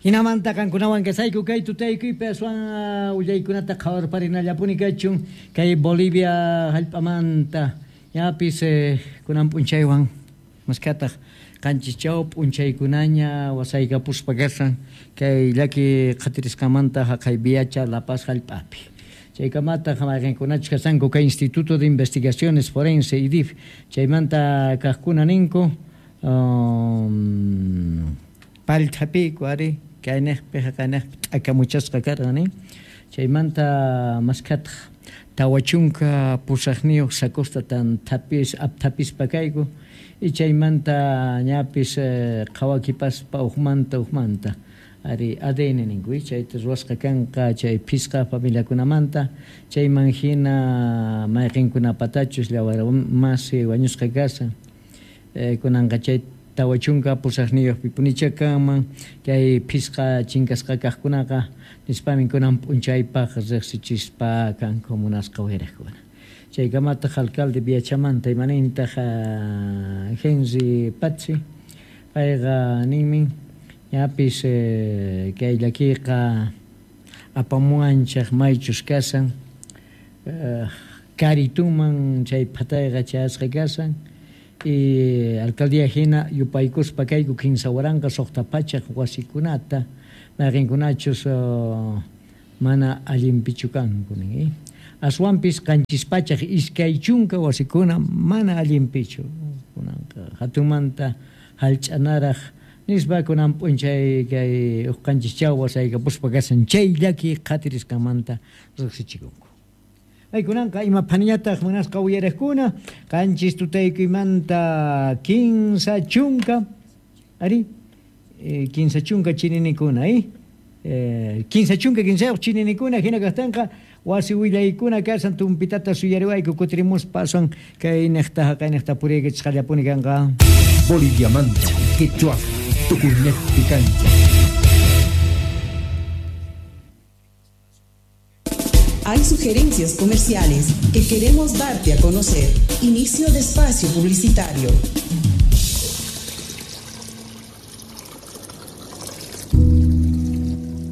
Jinamanta qankunawan kasayku kay tutaykuypi aswan willaykunata qhawarparinallapuni kachun kay Bolivia hallp'amanta ñapis kunan p'unchaywan maskhataq 7 p'unchaykunaña wasaykapuspa kashan kay llaki qhatirisqanmanta haqay Viacha La Paz hallp'api. Chaykamataq mayqinkunachus kashanku kay Instituto de Investigaciones Forense IDIF chaymanta kaqkuna ninku pallthapiku ari kayniqpi haqayniqpi t'akamuchasqa karqan nin chaymanta maskhataq 48 sacosta tan apthapispa kayku y chaymanta ñapis qhawakipaspa ujmanta ari ADN ninku chayta ruwasqa kanqa chay phisqa familiakunamanta chayman hina mayqinkunapatachus llawarmasi wañusqa kashan kunanqa chay 48 pipunicha kanman kay phisqa chinkasqa kaqkunaqa nispamin kunan p'unchaypaq riqsichispa kanku munasqa uyariqkuna. Chaykamataq alcalde Viachamanta imanintaq Henry Patzi payqa ninmin ñapis kay llakiyqa apamuwanchaq maychus kashan karituman chay phatayqa chayasqa kashan y alcaldía hina yupaykuspa kayku 3,600 wasikunata mayqinkunachus mana allinpichu kanku nin aswanpis 720 wasikuna mana allinpichu kunanqa hatunmanta hallch'anaraq nispa kunan p'unchay kay uqanchis wasaykapuspa kashan chay llaki qhatirisqanmanta riqsichikunku. Aykunanqa ima phaniñataq munasqa uyariqkuna 7 tutaykuymanta 30 ari 30 chininikuna 35 chininikuna hina kaqtinqa wasi willaykuna kashan tumpitata suyariwayku kutirimuspa aswan kay niqta haqay niqta puriykichisqallapuni kanqa. Boliviamanta Quechua tukuynejpi kancha. Hay sugerencias comerciales que queremos darte a conocer. Inicio de espacio publicitario.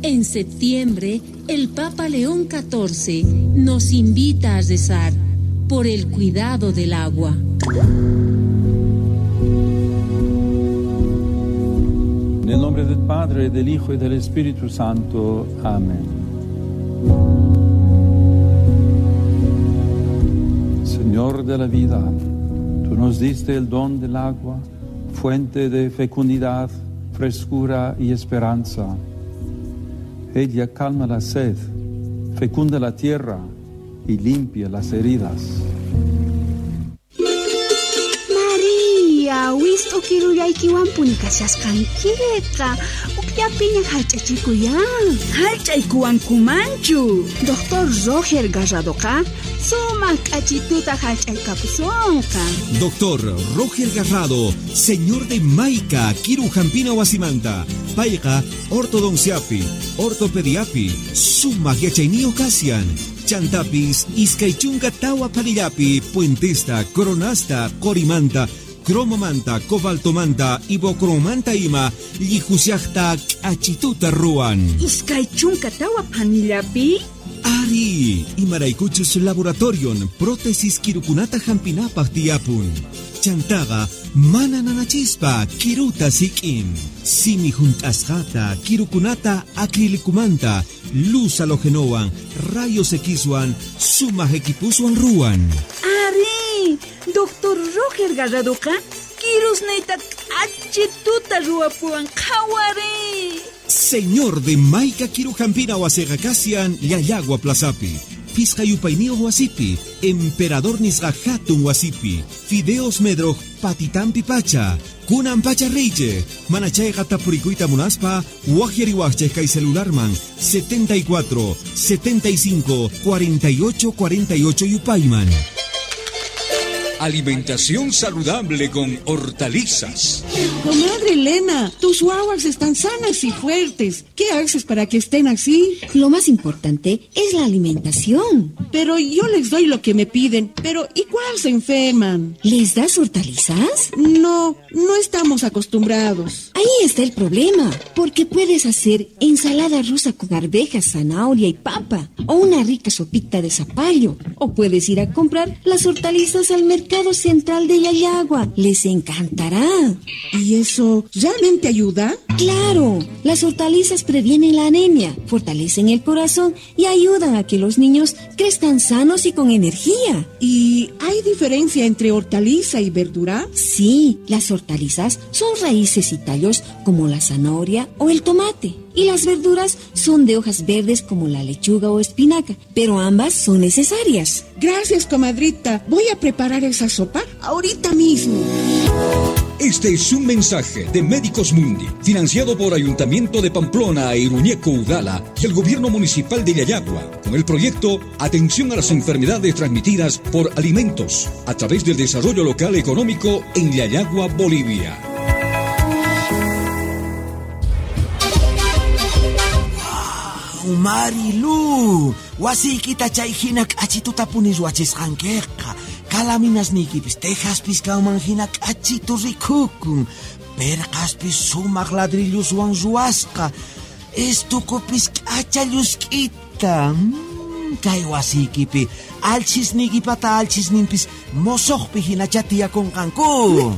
En septiembre, el Papa León XIV nos invita a rezar por el cuidado del agua. En el nombre del Padre, del Hijo y del Espíritu Santo. Amén. Señor de la vida, tú nos diste el don del agua, fuente de fecundidad, frescura y esperanza. Ella calma la sed, fecunda la tierra y limpia las heridas. María, wist'ukirullaykiwanpuni kashasqankiqa, ukllapiña hallch'achikuyan. Hallch'aykuwankumanchu. Doctor Roger Garradoqa sumaq k'achituta hallch'aykapusonqa. Doctor Roger Garrado, señor de Maica, Kirujampina wasimanta, payqa ortodonciapi, ortopediapi, sumaq yachayniyuq kashan. Chantapis, 24 panillapi, puentesta, coronasta, corimanta, cromomanta, cobaltomanta, ibocromanta ima, llijusiaqta k'achituta ruwan. 24 panillapi? Ari, imaraykuchus laboratorion, prótesis kirukunata hampinapaq tiyapun. Chantaqa mana nanachispa kiruta sik'in. Simi hunt'asqata, kirukunata acrilicumanta, luz halogenowan, rayos Xwan, sumaq equipuswan ruwan. Ari, Doctor Roger Garradoqa kirusniyta k'achituta ruwapuwan qhawari. Señor de Maica Kirujampina wasiqa kashan Llallagua Plazapi, Pisqa yupayniyuq wasipi, Emperador nisqa hatun wasipi, Fideos Medroj patitampi pacha, kunan pacha reyche, mana chayqa tapurikuyta munaspa, waqyariwaqchej kay celularman 74 75 48 48 yupayman. Alimentación saludable con hortalizas. Comadre Elena, tus guaguas están sanas y fuertes. ¿Qué haces para que estén así? Lo más importante es la alimentación. Pero yo les doy lo que me piden, pero igual se enferman. ¿Les das hortalizas? No, no estamos acostumbrados. Ahí está el problema, porque puedes hacer ensalada rusa con arvejas, zanahoria y papa, o una rica sopita de zapallo, o puedes ir a comprar las hortalizas al mercado Central de Llallagua. Les encantará. ¿Y eso realmente ayuda? Claro, las hortalizas previenen la anemia, fortalecen el corazón y ayudan a que los niños crezcan sanos y con energía. ¿Y hay diferencia entre hortaliza y verdura? Sí, las hortalizas son raíces y tallos como la zanahoria o el tomate. Y las verduras son de hojas verdes como la lechuga o espinaca, pero ambas son necesarias. Gracias, comadrita. Voy a preparar esa sopa ahorita mismo. Este es un mensaje de Médicos Mundi, financiado por Ayuntamiento de Pamplona e Iruñeco Udala y el Gobierno Municipal de Llallagua, con el proyecto Atención a las enfermedades transmitidas por alimentos, a través del desarrollo local económico en Llallagua, Bolivia. Marilu, wasiykita chay hina k'achituta punis wachisqankiqa. Kalaminasniykipis tejaspis kanman hina k'achitu rikukun. Perqaspis sumaq ladrilluswan ruwasqa. Estukupis k'acha llusk'ita. Kay wasiykipi alchisniykipata alchisninpis mosoqpi hinacha tiyakunqanku.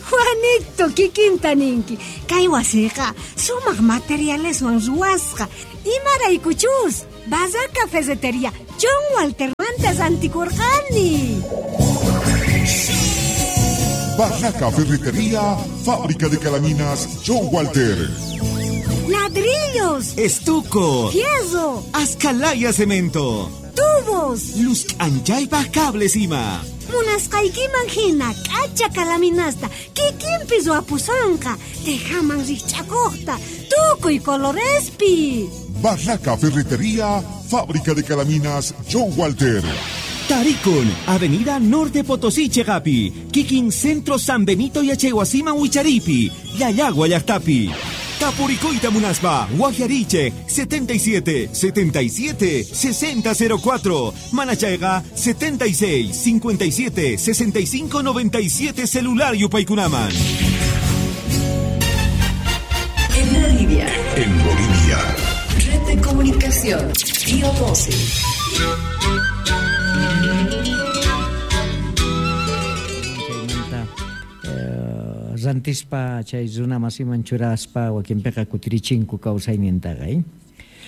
Juanito, kikinta ninki. Kay wasiqa sumaq materialeswan ruwasqa. Imaraykuchus, Barraca Ferretería, John Walter mantas antikurqani. Barraca Ferretería, fábrica de calaminas John Walter. Ladrillos, estuco, fierro, ascalaya cemento, tubos, luz anchaypa cables ima. Munasqaykiman hina k'acha kalaminasta kikinpis ruwapusanqa tejaman rikch'akuqta tukuy colorespi. Barraca Ferretería, fábrica de calaminas John Walter. Taricon, Avenida Norte Potosí, Chegapi, Kikin Centro San Benito y Achehuasima Huicharipi, Llallagua Llaqtapi. Tapuricoita Munaspa, Guajiariche, 77 77 6004, Manachaiga, 76 57 65 97, celular Yupaycunaman. En Bolivia. En Bolivia. Red de comunicación, Tío 12. Rantispa chay runa masiman churaspa wakinpiqa kutirichinku kawsaynintaqa.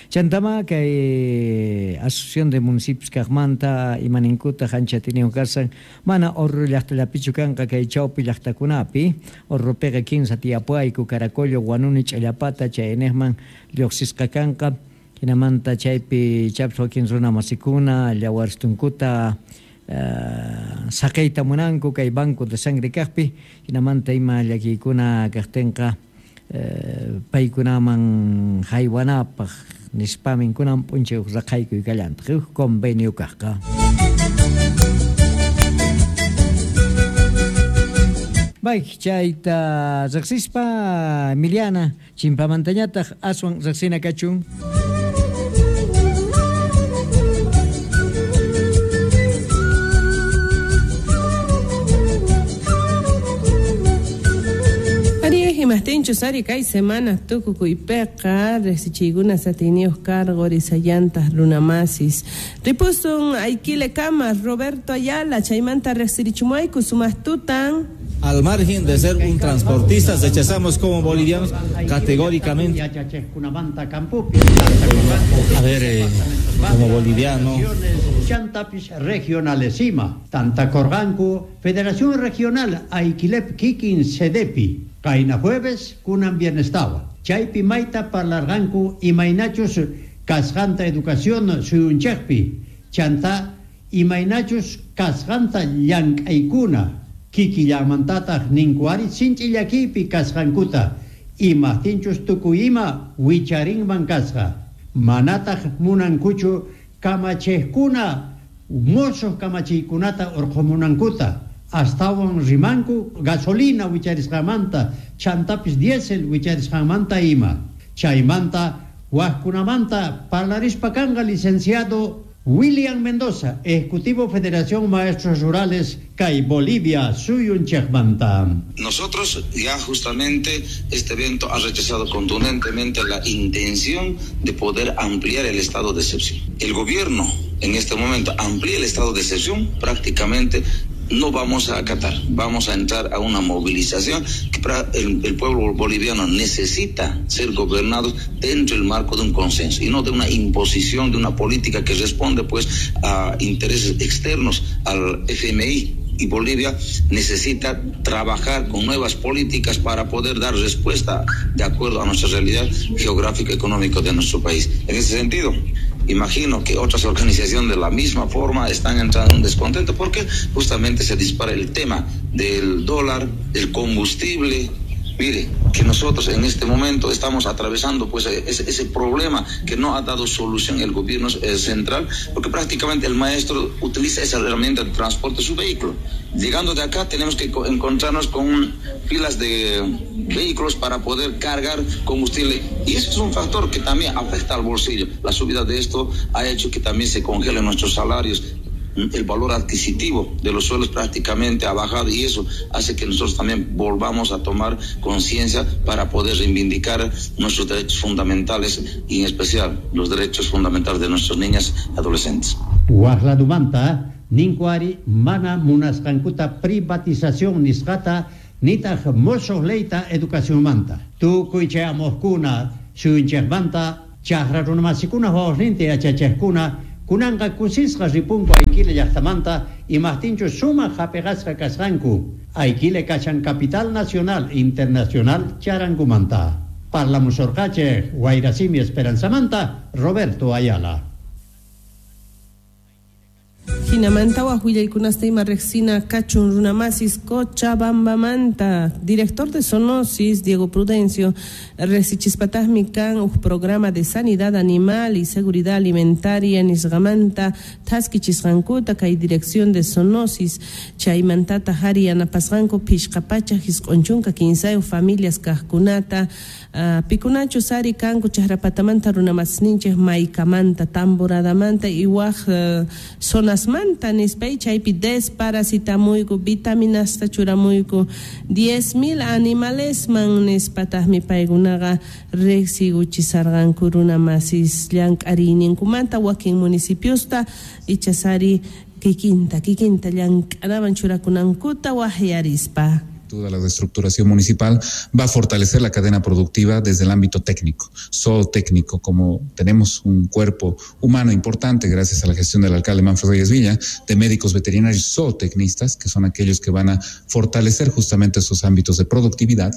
Chantama kay Asociación de Municipios kaqmanta imaninkuta ancha tiniyuq karsan mana Oruro llaqtallapichu kanqa kay chawpi llaqtakunapi Oruropiqa 15 tiyapuayku Caracollo, Huanuni, Ch'allapata chayniqman lluqsisqa kanqa hinamanta chaypi chapis wakin runa masikuna llawarstunkuta saqeyta munanku kay banco de sangre kaqpi hinamanta ima llakiykuna kaqtinqa paykunaman haywanapaq nispamin kunan p'unchay huk raqaykuy kallantaq huk convenio kaqqa. Bay chayta riqsispa Emiliana chimpamantañataq aswan riqsina kachun. Imaqtinchus ari kay semana tukukuypiqa riqsichiykuna satiniyuq cargo risayantas runamasis ripusun aykilekama Roberto Ayala chaymanta riqsirichumuayku sumaqtutan. Al margen de ser un transportista, rechazamos como bolivianos categóricamente. A ver, como boliviano. Chantapis regionalesima, Tantacorganco, Federación Regional Aiquilep Kikin Sedepi, Kaina jueves, kunan bienestawa. Chaypi maita parlarganku imaynachus kasqanta educación suyunchaqpi. Chanta imaynachus kasqanta llank'aykuna. Kikillamantataq ninkuari sinchi llakiypi kasqankuta. Imaqtinchus tukuy ima wicharinman kasqa. Manataq munankuchu kamachiqkuna Musuq kamachiykunata urqumunankuta astawan rimanku gasolina wicharisqanmanta chantapis diésel wicharisqanmanta ima. Chaymanta wajkunamanta parlarispa kanqa licenciado William Mendoza, Ejecutivo Federación Maestros Rurales, kay Bolivia, suyunchejmanta. Nosotros ya justamente este evento ha rechazado contundentemente la intención de poder ampliar el estado de excepción. El gobierno en este momento amplía el estado de excepción, prácticamente no vamos a acatar, vamos a entrar a una movilización que el pueblo boliviano necesita ser gobernado dentro del marco de un consenso y no de una imposición de una política que responde pues a intereses externos al FMI. Y Bolivia necesita trabajar con nuevas políticas para poder dar respuesta de acuerdo a nuestra realidad geográfica y económica de nuestro país. En ese sentido, imagino que otras organizaciones de la misma forma están entrando en un descontento porque justamente se dispara el tema del dólar, del combustible. Mire, que nosotros en este momento estamos atravesando pues ese problema que no ha dado solución el gobierno central, porque prácticamente el maestro utiliza esa herramienta de transporte de su vehículo. Llegando de acá tenemos que encontrarnos con filas de vehículos para poder cargar combustible, y eso es un factor que también afecta al bolsillo. La subida de esto ha hecho que también se congelen nuestros salarios. El valor adquisitivo de los suelos prácticamente ha bajado, y eso hace que nosotros también volvamos a tomar conciencia para poder reivindicar nuestros derechos fundamentales y en especial los derechos fundamentales de nuestras niñas y adolescentes. Wajladumanta, ninkuari mana munasqankuta privatización nisqata nitaq musuq leyta educacionmanta. Tukuy chayamuqkuna suyunchikmanta chaqra runamasikuna wawasninta yachachaqkuna kunanqa kusisqa ripunku Aiquile llaqtamanta imaqtinchu sumaq hapiqasqa kasqanku. Aiquile kashan capital nacional internacional charankumanta. Parlamusorqachej Wayrasimi Esperanzamanta, Roberto Ayala. Jinamanta wajwillaykunasta ima riqsina kachun runamasis Cochabambamanta. Director de Zoonosis, Diego Prudencio, riqsichispataqmi kan uj programa de sanidad animal y seguridad alimentaria nisqamanta thaskichisqankuta kay dirección de Zoonosis chaymantata hari yanapasqanku phishqa pachak isq'un 13 familias kaqkunata pikunachus ari kanku chaqrapatamanta runamasninchik maykamanta tamboradamanta y waj zonasmanta nispay chaypi desparasitamuyku vitaminasta churamuyku 10,000 animalesman nispataqmi paykunaqa riqsiguchisarqanku runamasis llank'ariyninkumanta wakin municipiosta ichasari kikinta llank'anaman churakunankuta waqyarispa. Toda la reestructuración municipal va a fortalecer la cadena productiva desde el ámbito técnico, zootécnico, como tenemos un cuerpo humano importante gracias a la gestión del alcalde Manfred Reyes Villa, de médicos veterinarios zootecnistas, que son aquellos que van a fortalecer justamente esos ámbitos de productividad,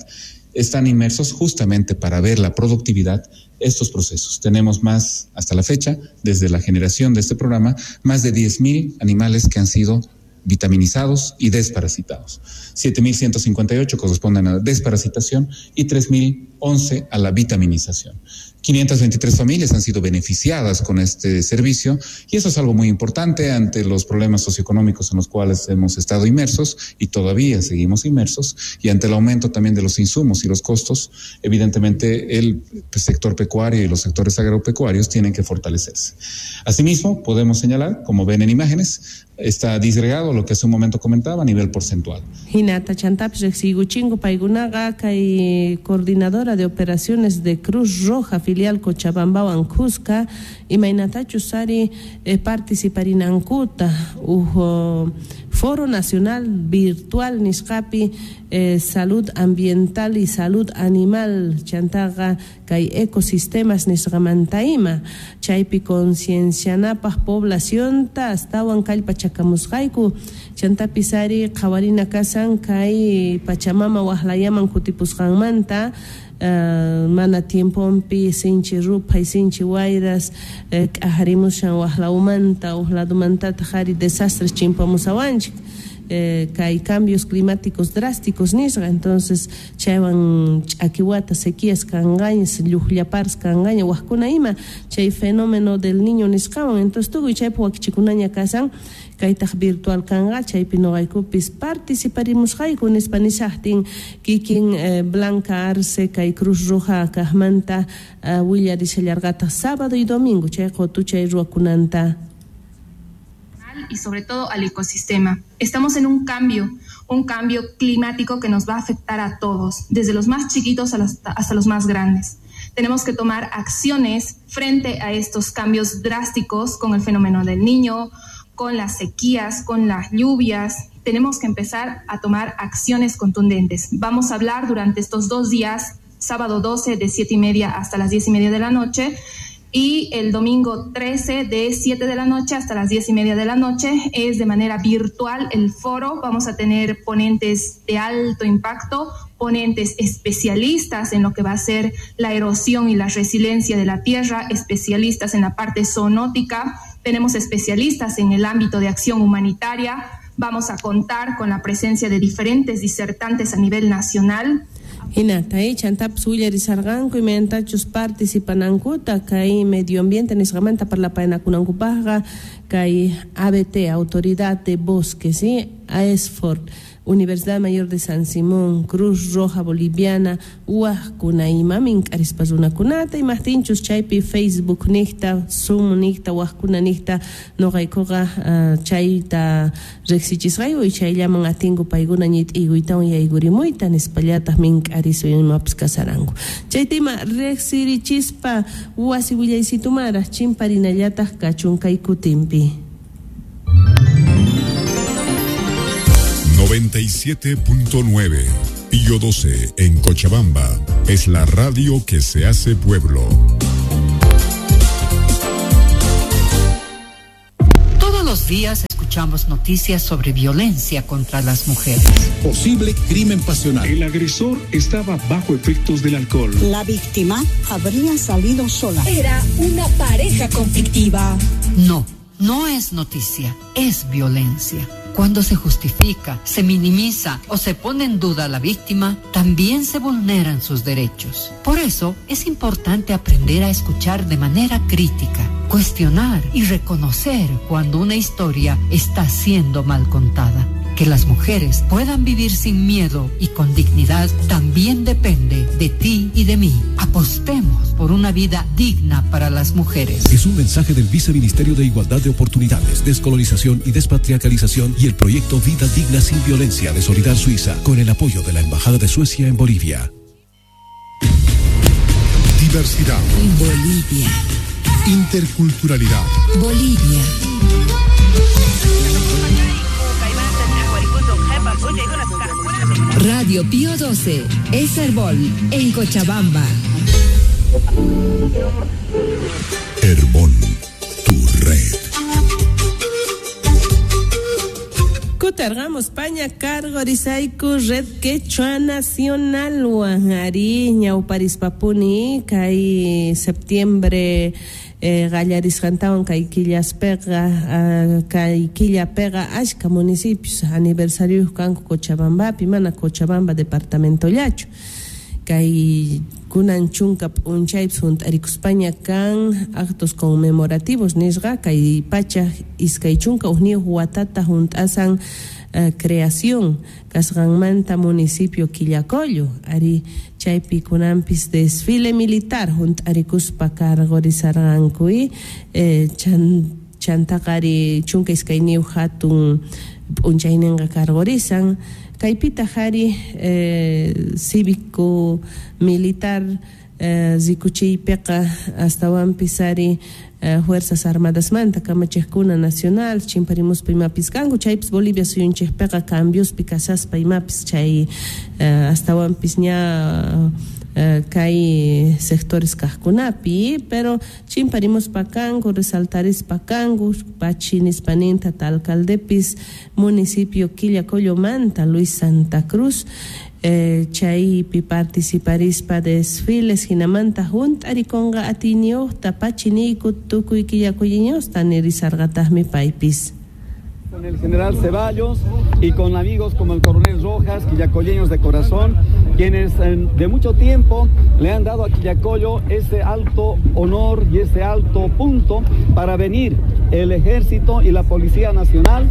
están inmersos justamente para ver la productividad estos procesos. Tenemos más, hasta la fecha, desde la generación de este programa, más de 10,000 animales que han sido vitaminizados y desparasitados. 7,158 corresponden a la desparasitación y 3,011 a la vitaminización. 523 familias han sido beneficiadas con este servicio y eso es algo muy importante ante los problemas socioeconómicos en los cuales hemos estado inmersos y todavía seguimos inmersos, y ante el aumento también de los insumos y los costos, evidentemente el sector pecuario y los sectores agropecuarios tienen que fortalecerse. Asimismo, podemos señalar, como ven en imágenes, está disgregado lo que hace un momento comentaba a nivel porcentual. Hinata chantapis riqsiykuchingu paykunaqa kay coordinadora de operaciones de Cruz Roja filial Cochabambawan Cusca imaynatachus ari participarinankuta uj Foro Nacional Virtual nisqapi salud ambiental y salud animal chantaqa kay ecosistemas nisqamanta ima chaypi conciencianapaq poblacionta astawan kallpachakamusqayku chantapis ari qhawarina kasan kay Pachamama waqlayaman kutipusqanmanta mana tiemponpi sinchi ruphay sinchi wayras k'ajarimushan waqlawmanta uj ladumantataq ari desastres chimpamusawanchik Kay cambios climáticos drásticos nisqa, entonces chaywan ch'akiwata sequías kanqaña, lluqllaparas kanqaña, wajkuna ima chay fenómeno del niño nisqawan, entonces tukuy chaypi wakichikunaña kasan, kaytaq virtual kanqa, chaypi noqaykupis participarimusqayku nispa nishaqtin kikin Blanca Arce kay Cruz Roja kaqmanta willarishallarqataq sábado y domingo chay qotuchay ruwakunanta. Y sobre todo al ecosistema. Estamos en un cambio climático que nos va a afectar a todos, desde los más chiquitos hasta los más grandes. Tenemos que tomar acciones frente a estos cambios drásticos con el fenómeno del niño, con las sequías, con las lluvias. Tenemos que empezar a tomar acciones contundentes. Vamos a hablar durante estos 2 días, sábado 12 de 7:30 hasta las 10:30 de la noche, y el domingo 13 de 7 de la noche hasta las 10:30 de la noche. Es de manera virtual el foro. Vamos a tener ponentes de alto impacto, ponentes especialistas en lo que va a ser la erosión y la resiliencia de la tierra, especialistas en la parte zoonótica, tenemos especialistas en el ámbito de acción humanitaria. Vamos a contar con la presencia de diferentes disertantes a nivel nacional. Hinata, chantapis willarisarqanku imaynatachus participanankuta kay medio ambiente nisqamanta parlapaynakunankupaqqa kay ABT, Autoridad de Bosques, ¿sí? AESFOR, Universidad Mayor de San Simón, Cruz Roja Boliviana, wajkuna ima mink'arispa runakunata imajtinchus chaypi Facebook niqta, Zoom niqta, wajkuna niqta noqaykuqa chayta riqsichisqayku y chayllaman atinku paykuna ñit'iyuytawan yaykurimuyta nispallataq mink'arisu imapis kasaranku. Chayta ima riqsirichispa wasi willaysitumara chimparinallataq kachun kay kutinpi. 97.9 Pío 12 en Cochabamba es la radio que se hace pueblo. Todos los días escuchamos noticias sobre violencia contra las mujeres. Posible crimen pasional. El agresor estaba bajo efectos del alcohol. La víctima habría salido sola. Era una pareja conflictiva. No, no es noticia, es violencia. Cuando se justifica, se minimiza o se pone en duda a la víctima, también se vulneran sus derechos. Por eso es importante aprender a escuchar de manera crítica, cuestionar y reconocer cuando una historia está siendo mal contada. Que las mujeres puedan vivir sin miedo y con dignidad también depende de ti y de mí. Apostemos por una vida digna para las mujeres. Es un mensaje del Viceministerio de Igualdad de Oportunidades, Descolonización y Despatriarcalización y el proyecto Vida Digna Sin Violencia de Solidar Suiza, con el apoyo de la Embajada de Suecia en Bolivia. Diversidad. Bolivia. Interculturalidad. Bolivia. Radio Pío 12, es Herbol, en Cochabamba. Herbol, tu red. Kutargamos Paña cargo risaiku red quechua nacional ari ñawparispapuni kay septiembre qallarisqantawan kay killaspeqa kay killapeqa ashka municipios aniversarios kanku Cochabambapi mana Cochabamba departamentollachu kay kunan chunka p'unchaypis hunt'arikuspaña kan actos conmemorativos nisqa kay pacha 21 watata hunt'asan creación kasqanmanta municipio Quillacollo ari chaypi kunanpis desfile militar hunt'arikuspa cargorizarqanku chantaqa ari 12 hatun p'unchayninqa cargorizan kaypitaq ari cívico militar rikuchiypiqa astawanpis ari Fuerzas Armadasmanta kamachiqkuna nacional chimparimuspa imapis kanku chaypis Bolivia suyunchikpiqa cambiospi kasaspa imapis chay astawanpis ña kay sectores kaqkunapi pero chimparimuspa kanku resaltarispa kanku pachinispaninta alcaldepis municipio Quillacollomanta Luis Santa Cruz chaypi participarispa desfiles hinamanta hunt'arikunqa atiyniyuqta pachiniyku tukuy quillacolliñusta nirisarqataqmi paypis. Con el general Ceballos y con amigos como el coronel Rojas, quillacolleños de corazón, quienes de mucho tiempo le han dado a Quillacollo ese alto honor y ese alto punto para venir el ejército y la Policía Nacional,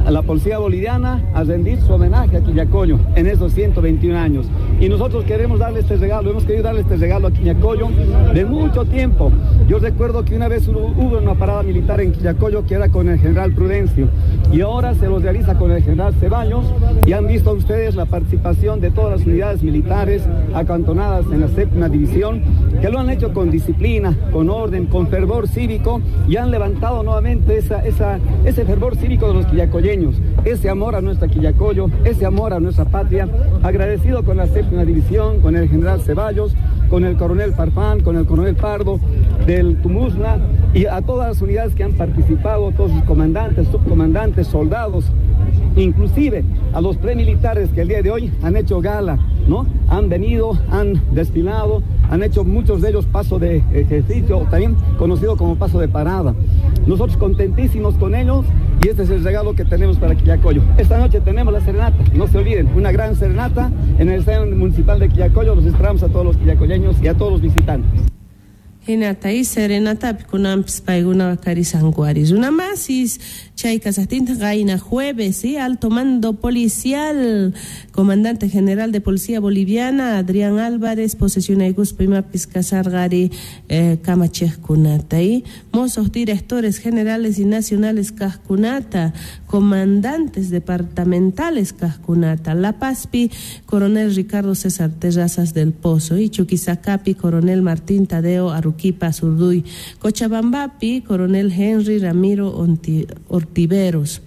la Policía Boliviana, a rendir su homenaje a Quillacollo en esos 121 años. Y nosotros queremos darle este regalo, hemos querido darle este regalo a Quillacollo de mucho tiempo. Yo recuerdo que una vez hubo una parada militar en Quillacollo que era con el general Prudencio, y ahora se los realiza con el general Ceballos, y han visto ustedes la participación de todas las unidades militares acantonadas en la 7ª división, que lo han hecho con disciplina, con orden, con fervor cívico, y han levantado nuevamente ese fervor cívico de los quillacolleños, ese amor a nuestra Quillacollo, ese amor a nuestra patria. Agradecido con la 7ª división, con el general Ceballos, con el coronel Farfán, con el coronel Pardo del Tumusla, y a todas las unidades que han participado, todos sus comandantes, subcomandantes, soldados, inclusive a los premilitares que el día de hoy han hecho gala, ¿no? Han venido, han desfilado, han hecho muchos de ellos paso de ejercicio, también conocido como paso de parada. Nosotros contentísimos con ellos, y este es el regalo que tenemos para Quillacollo. Esta noche tenemos la serenata, no se olviden, una gran serenata en el Estadio Municipal de Quillacollo. Los esperamos a todos los quillacolleños y a todos los visitantes. Hinata y serenatapi kunanpis paykuna karisanku runa masis chay kasaqtinta qayna jueves, ¿sí? Alto mando policial, comandante general de Policía Boliviana, Adrián Álvarez, posesionaykuspa imapis kasarqari kamachejkunata, ¿sí? Mozos directores generales y nacionales kajkunata, comandantes departamentales kajkunata, La Pazpi, coronel Ricardo César Terrazas del Pozo, y Chuquisacapi, coronel Martín Tadeo Arruquipa Zurduy, Cochabambapi, coronel Henry Ramiro Ortiveros,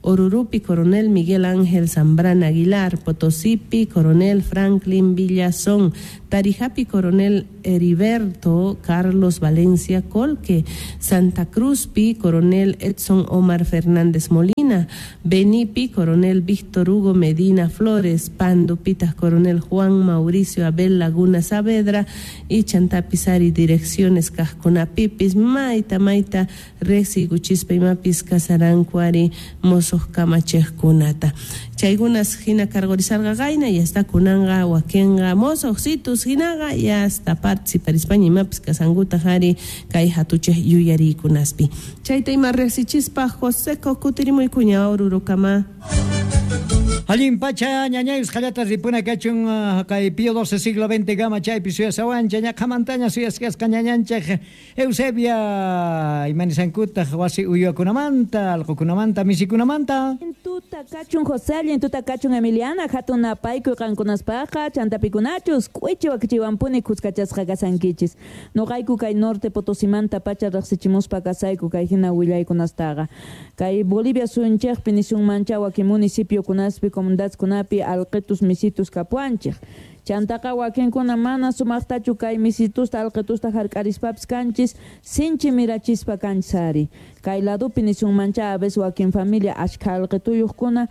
Orurupi, coronel Miguel Ángel Zambrana Aguilar, Potosipi, coronel Franklin Villazón, Tarijapi, coronel Heriberto Carlos Valencia Colque, Santa Cruzpi, coronel Edson Omar Fernández Molina, Benipi, coronel Víctor Hugo Medina Flores, Pandupitas, coronel Juan Mauricio Abel Laguna Saavedra, y Chantapizari, direcciones Casconapipis, Maita, Maita, Rexi, Guchispa y Mapis, Casarancuari, Mozos Kamachejkunata. Chaykunas hina cargorizarga gaina y hasta kunanga wakenga mozojsitus hinaga y hasta participarispaña imapis kasanguta jari kay hatuchej yuyarikunaspi. Chayta ima riqsichispa José Kutirimuy kuña Orurukama. Allin pacha ñañayus qallata ripuna kachun kay Pío XII siglo XX gama chaypi suyasawancha ñaqhamantaña suyasqasqa ñañanchej Eusebia imanisankutaq wasi uywakunamanta allqukunamanta misikunamanta. Tuta kachun José, allin tuta kachun Emiliana, hatun napaykuy qankunaspaqa chantapikunachus k'uichi wakichiwanpuni kuskachasqa kasankichis. Noqayku kay norte Potosimanta pacha riqsichimuspa kasayku kay hina willaykunastaqa. Kay Bolivia suyunchejpi nisunmancha wakin municipiokunaspi comunidadkunapi alqitus misitus kapuanchej. Chantaqa wakinkuna mana sumaqtachu kay misitusta alqitusta hark'arispapis kanchis sinchi mirachispa kanchis ari. Kay ladupi nisunmancha a veces wakin familia ashkha alqituyuqkuna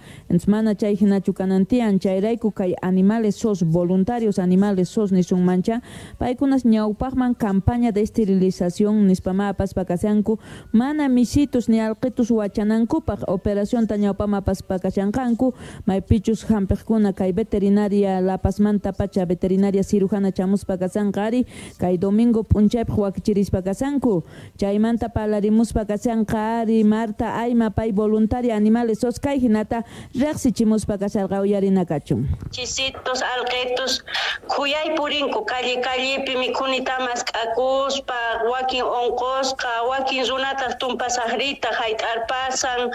mana chay hinachu kanantian chayrayku kay animales sos voluntarios animales sos nisunmancha paykunas ñawpaqman campaña de esterilización nispama apaspa kashanku mana misitus ni alqitus wachanankupaq operación ta ñawpama apaspa kashanqanku maypichus hampiqkuna kay veterinaria La Pazmanta pacha veterinaria cirujana chamuspa kasanqa ari kay domingo p'unchaypaq wakichirispa kasanku chaymanta parlarimuspa kasanqa ari Marta Ayma pay voluntaria animales sos kay hinata riqsichimuspa kasarqa uyarina kachun. Chisitos alqitus khuyay purinku calle callepi mikhunita mask'akuspa wakin unqusqa wakin runataq tumpasaqrita hayt'arpasan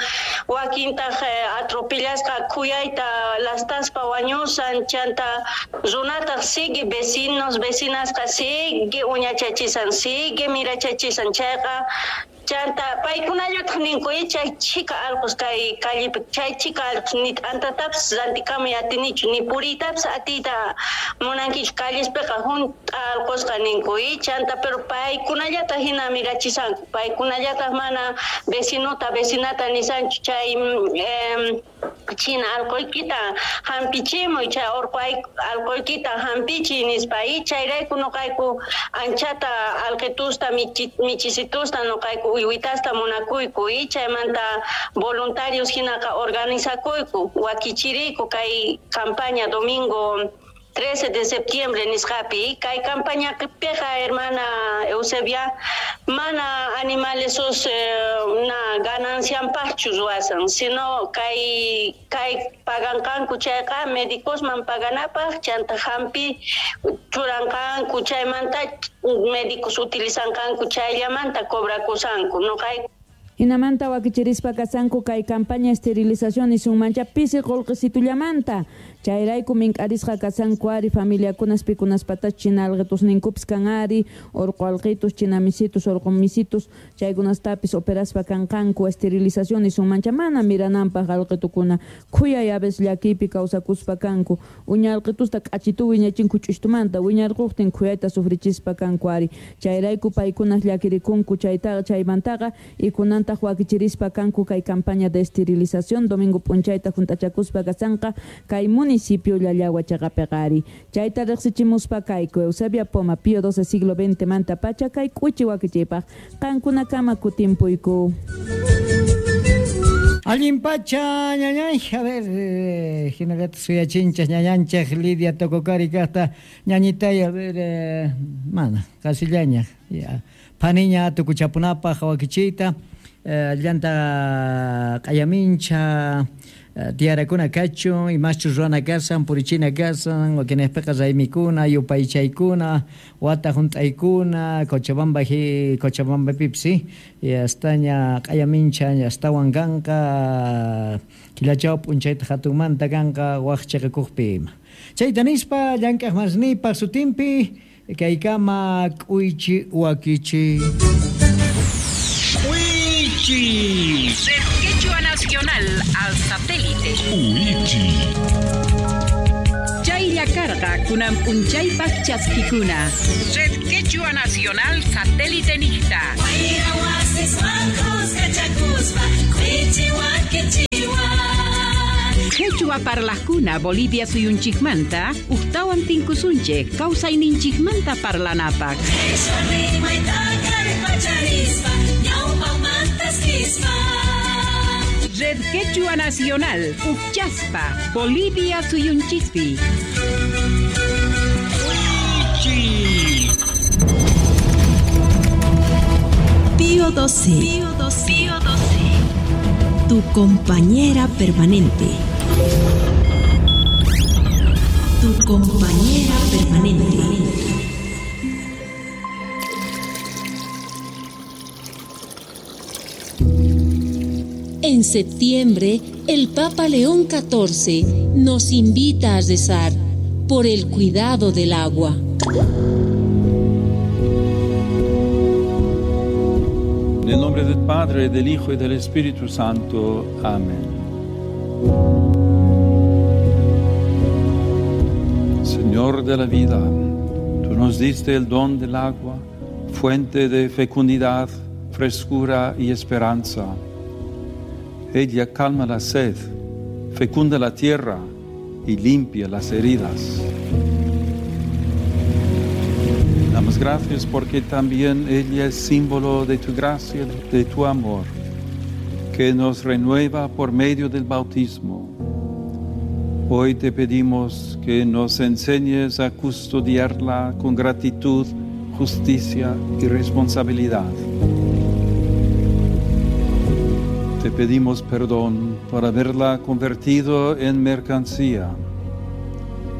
wakintaq atropellasqa khuyayta lastaspa wañusan chanta runataq sigue vecinos vecinasqa sigue uñachachisan sigue mirachachisan chayqa chanta paykunallataq ninku chay chhika allqus kay callepi chay chhika allqus ni t'antatapis rantikamuy atinichu ni puriytapis atiyta munankichu callespiqa junt'a allqusqa ninku chanta pero paykunallataq hina mirachisanku paykunallataq mana vecinota vecinata nisanchu chay China alqoykita hampichimuy, chay orqo alqoykita hampichiy nispa. Y chayrayku noqayku anchata alqitusta michisitusta noqayku uywitasta munakuyku. Y chaymanta voluntarios hinaqa organizakuyku, wakichiriyku kay campaña domingo 13 de septiembre nisqapi. Kay campañapiqa, hermana Eusebia, mana animales na ganancianpaqchu ruwasan, sino kay paganqanku chayqa médicosman paganapaq, chanta hampi churanqanku, chaymanta médicos utilizanqanku, chayllamanta cobrakusanku. Noqayku Hinamanta wakichirispa kasanku kay campaña esterilización nisunmancha pisi qullqisitullamanta. Chayrayku mink'arisqa kasanku ari familiakunas pikunaspatach china alqitusninkupis kan ari, orqo alqitus, china misitus, orqo misitus, chaykunastapis operaspa kanqanku esterilización nisunmancha mana mirananpaq alqitukuna. Khuyay a veces llakiypi kawsakuspa kanku. Uña alqitusta k'achitu wiñachinku ch'ushtumanta, wiñarquqtin khuyayta sufrichispa kanku ari. Chayrayku paykunas llakirikunku chaytaqa chaymantaqa ikunantaq wakichirispa kanku kay campaña de esterilización domingo p'unchayta junt'achakuspa kasanqa kay municipio Llallagua chaqapiqa ari. Chayta riqsichimuspa kayku Eusebia Poma, Pío XII siglo XX manta pacha kay k'uchi wakichiypaq qankunakama kutimpuyku. Allin pacha ñañay, a ver, hinallata suyachinchas ñañanchaj Lidia Tococari kaqta ñañitay, a ver, mana, qasillaña, ya, phaniña tukuchapunapaq wakichiyta, llanta q'ayamincha, tiyarakuna kachun, imaschus ruwana kasan, purichina kasan, wakinejpiqa raymikuna, yupaychaykuna, wata hunt'aykuna, Cochabamba Cochabambapipis, astaña q'ayamincha astawan kanqa, killachaw p'unchayta hatunmanta kanqa waq chiqakuqpi ima. Chayta nispa llank'aq masnipaq sutinpi kaykama k'uychi wakichi. K'uychi. Red Quechua Nacional al satélite. Uichi. Chaylla karqa kunan p'unchaypaq chaskikuna. Red Quechua Nacional satélite niqta. Quechua parlaqkuna Bolivia suyunchikmanta uqtawan tinkusunchik kawsayninchikmanta parlanapaq. Red Quechua Nacional, Uchaspa, Bolivia suyunchispi. Pío XII. Pío XII. Pío XII. Tu compañera permanente. Tu compañera permanente. En septiembre, el Papa León XIV nos invita a rezar por el cuidado del agua. En el nombre del Padre, del Hijo y del Espíritu Santo. Amén. Señor de la vida, tú nos diste el don del agua, fuente de fecundidad, frescura y esperanza. Ella calma la sed, fecunda la tierra y limpia las heridas. Damos gracias porque también ella es símbolo de tu gracia, de tu amor, que nos renueva por medio del bautismo. Hoy te pedimos que nos enseñes a custodiarla con gratitud, justicia y responsabilidad. Te pedimos perdón por haberla convertido en mercancía,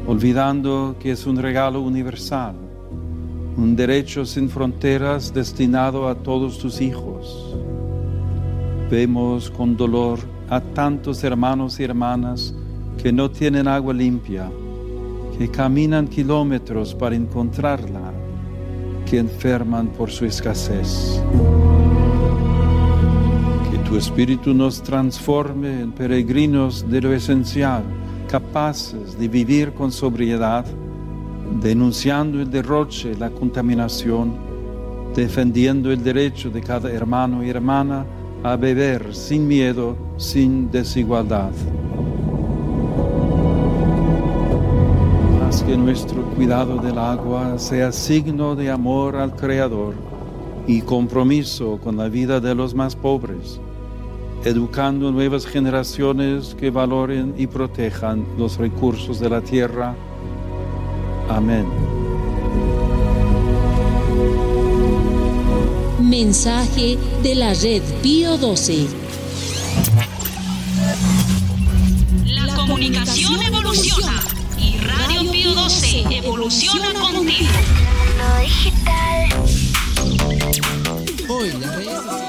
olvidando que es un regalo universal, un derecho sin fronteras destinado a todos tus hijos. Vemos con dolor a tantos hermanos y hermanas que no tienen agua limpia, que caminan kilómetros para encontrarla, que enferman por su escasez. Que tu Espíritu nos transforme en peregrinos de lo esencial, capaces de vivir con sobriedad, denunciando el derroche, la contaminación, defendiendo el derecho de cada hermano y hermana a beber sin miedo, sin desigualdad. Que nuestro cuidado del agua sea signo de amor al Creador y compromiso con la vida de los más pobres, educando nuevas generaciones que valoren y protejan los recursos de la tierra. Amén. Mensaje de la red Pío 12. La comunicación evoluciona y Radio Pío 12 evoluciona contigo. Hoy las redes sociales.